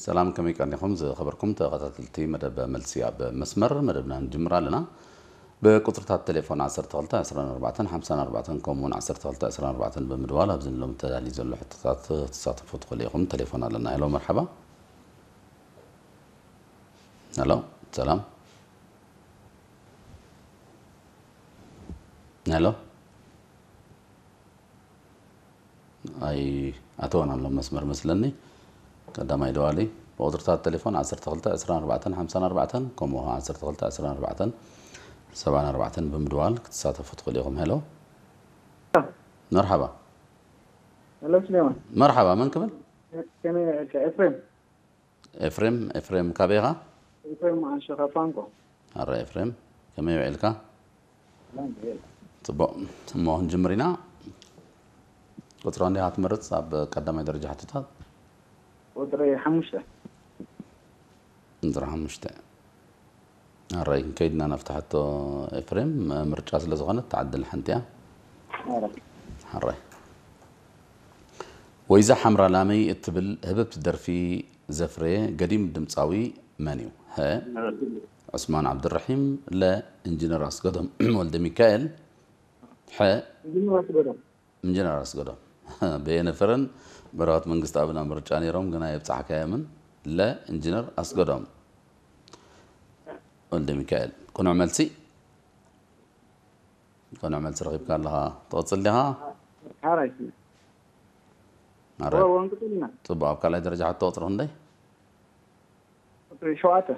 ሰላም፣ ከመይ ቀኒኹም ዝኸበርኩም ተኸታተልቲ መደብ መልሲ ኣብ መስመር? መደብና ንጅምር ኣለና። ብቁጽርታት ቴሌፎን ዓሰርተ ክልተ ዕስራን ኣርባዕተን ሓምሳን ኣርባዕተን ከምኡ እውን ዓሰርተ ክልተ ዕስራን ኣርባዕተን ብምድዋል ኣብዚ ንሎም ተዳልዩ ዘሎ ሕቶታት ክትሳተፉ ትኽእሉ ኢኹም። ቴሌፎን ኣለና። ሄሎ፣ መርሓባ። ሄሎ፣ ሰላም። ሄሎ። ኣይ፣ ኣተወን ኣሎ መስመር መስለኒ። ቀዳማይ ደዋሊ ብቁጽርታት ቴሌፎን ዓሰርተ ክልተ ዕስራን ኣርባዕተን ሓምሳን ኣርባዕተን ከምኡ ዓሰርተ ክልተ ዕስራን ኣርባዕተን ሰብዓን ኣርባዕተን ብምድዋል ክትሳተፉ ትኽእሉ ኢኹም። ሄሎ። መርሓባ። ሄሎ፣ ስሌማን። መርሓባ፣ መን ክብል? ከመይ፣ ኤፍሬም። ኤፍሬም። ኤፍሬም፣ ካበይ ኢኻ? ኤፍሬም፣ ኣንሸኻ ፋንቆ። ኣረ ኤፍሬም፣ ከመይ ውዒልካ? ጽቡቕ። እሞ ክንጅምር ኢና። ቁጽሪ እንዲኻ ትመርጽ ኣብ ቀዳማይ ደረጃ ሕቶታት? ቁጽሪ ሓሙሽተ። ቁጽሪ ሓሙሽተ። ኣረይ፣ ከይድና ናብቲ ሕቶ ኤፍሬም፣ ምርጫ ስለ ዝኾነት ትዓድል ሓንቲ እያ። ኣረይ። ወይዛ ሓምራ ላመይ እትብል ህብብቲ ደርፊ ዘፍረየ ገዲም ድምጻዊ መን እዩ? ሀ፣ ዑስማን ዓብዱራሒም፣ ለ፣ ኢንጂነር ኣስገዶም ወልደ ሚካኤል፣ ሐ፣ ኢንጂነር ኣስገዶም። በየነ ፍረን በረኸት መንግስተኣብን ኣብ ምርጫ ነይሮም፣ ግና የብጻሕካዮምን። ለ፣ ኢንጂነር ኣስገዶም ወልደ ሚካኤል። ቅኑዕ መልሲ። ቅኑዕ መልሲ ረኺብካ ኣለኻ። ትቕጽል ዲኻ? ሓራይ። ኣረ፣ ወንቅጥልና። ጽቡቕ። ኣብ ካልኣይ ደረጃ ሕቶ ቁጽሪ ክንደይ? ቁጽሪ ሸውዓተ።